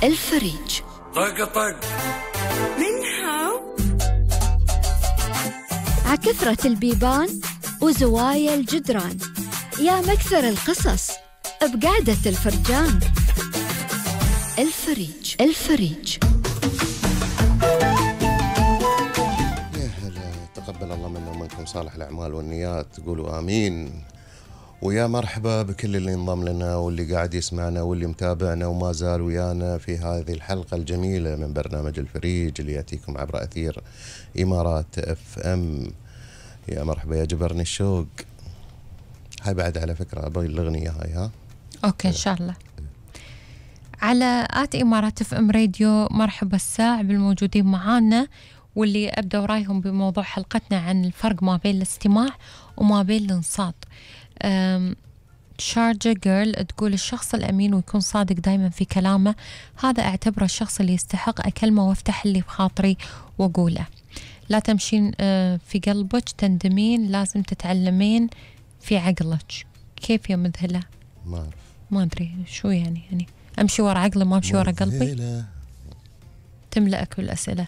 الفريج. طق طق من هاو عكثرة البيبان وزوايا الجدران، يا مكثر القصص بقعدة الفرجان. الفريج. الفريج. يا هلا، تقبل الله منا ومنكم صالح الأعمال والنيات، تقولوا آمين. ويا مرحبا بكل اللي انضم لنا واللي قاعد يسمعنا واللي متابعنا وما زال ويانا في هذه الحلقة الجميلة من برنامج الفريج اللي يأتيكم عبر أثير إمارات FM. يا مرحبا يا جبرني الشوق. هاي بعد على فكرة أبغي الأغنية هاي. ها أوكي إن شاء الله. على إمارات FM راديو. مرحبا الساع بالموجودين معانا واللي أبدأ رايهم بموضوع حلقتنا عن الفرق ما بين الاستماع وما بين الانصات. شارجة جيرل تقول الشخص الأمين ويكون صادق دايما في كلامه، هذا أعتبره الشخص اللي يستحق أكلمه وافتح اللي بخاطري وأقوله. لا تمشين في قلبك تندمين، لازم تتعلمين في عقلك. كيف يا مذهلة؟ ما أعرف، ما أدري شو يعني أمشي ورا عقلي ما أمشي ورا قلبي؟ تملأك بالأسئلة.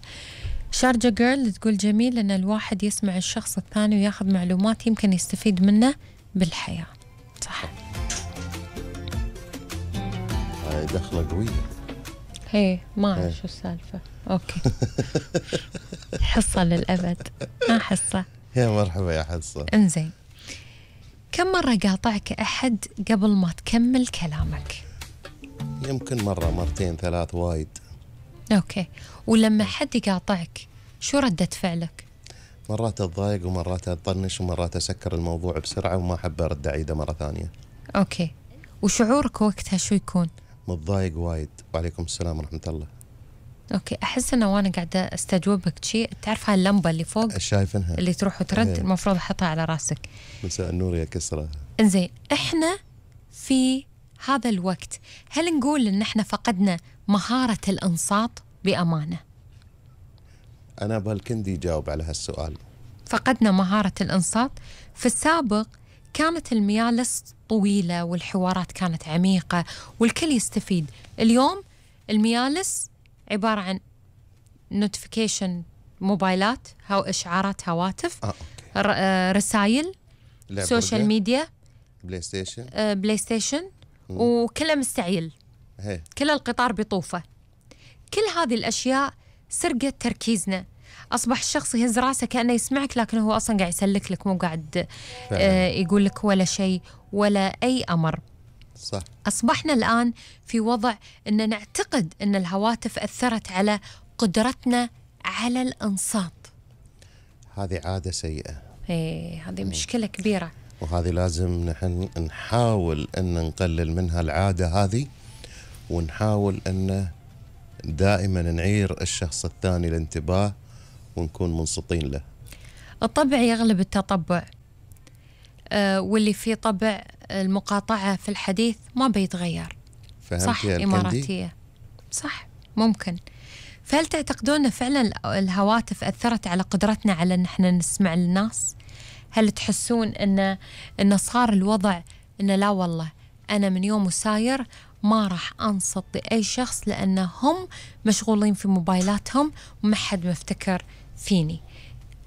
شارجة جيرل تقول جميل أن الواحد يسمع الشخص الثاني وياخذ معلومات يمكن يستفيد منه بالحياة. صح. هاي دخلة قوية. هي ما أعرف شو السالفة. أوكي. حصة للأبد. ما حصة. يا مرحبا يا حصة. انزين، كم مرة قاطعك أحد قبل ما تكمل كلامك؟ يمكن مرة مرتين ثلاث، وايد. أوكي. ولما حد يقاطعك شو ردة فعلك؟ مرات أتضايق ومرات أطنش ومرات أسكر الموضوع بسرعة وما أحب أرد أعيده مرة ثانية. أوكي. وشعورك وقتها شو يكون؟ متضايق وايد. وعليكم السلام ورحمة الله. أوكي. أحس أنه وأنا قاعدة أستجوبك شيء، تعرف هاي اللمبة اللي فوق شايفينها اللي تروح وترد؟ ايه. المفروض أحطها على راسك. مساء النور يا كسرة. إنزين، إحنا في هذا الوقت هل نقول إن إحنا فقدنا مهارة الإنصات بأمانة؟ أنا بالكندي يجاوب على هالسؤال. فقدنا مهارة الإنصات. في السابق كانت الميالس طويلة والحوارات كانت عميقة والكل يستفيد. اليوم الميالس عبارة عن نوتيفيكيشن، موبايلات، إشعارات هواتف، رسائل، سوشيال ميديا، بلاي ستيشن وكله مستعيل. كل القطار بطوفة. كل هذه الأشياء سرقت تركيزنا. أصبح الشخص يهز راسه كأنه يسمعك لكن هو أصلا قاعد يسلك لك، مو قاعد يقول لك ولا شيء ولا أي أمر. صح. أصبحنا الآن في وضع أن نعتقد أن الهواتف أثرت على قدرتنا على الإنصات. هذه عادة سيئة. هذه مشكلة كبيرة، وهذه لازم نحن نحاول أن نقلل منها العادة هذه، ونحاول أن دائما نعير الشخص الثاني الانتباه ونكون منصتين له. الطبع يغلب التطبع، واللي فيه طبع المقاطعة في الحديث ما بيتغير. صح. إماراتية. صح. ممكن. فهل تعتقدون فعلا الهواتف أثرت على قدرتنا على أن احنا نسمع للناس؟ هل تحسون أن صار الوضع أن لا والله أنا من يوم وساير ما راح أنصت لأي شخص لأن هم مشغولين في موبايلاتهم وما حد مفتكر فيني؟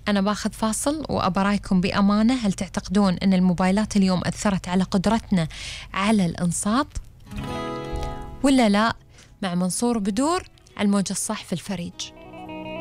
أنا باخذ فاصل وأبرايكم بأمانة. هل تعتقدون أن الموبايلات اليوم أثرت على قدرتنا على الإنصات ولا لا؟ مع منصور بدور على الموجة الصح في الفريج.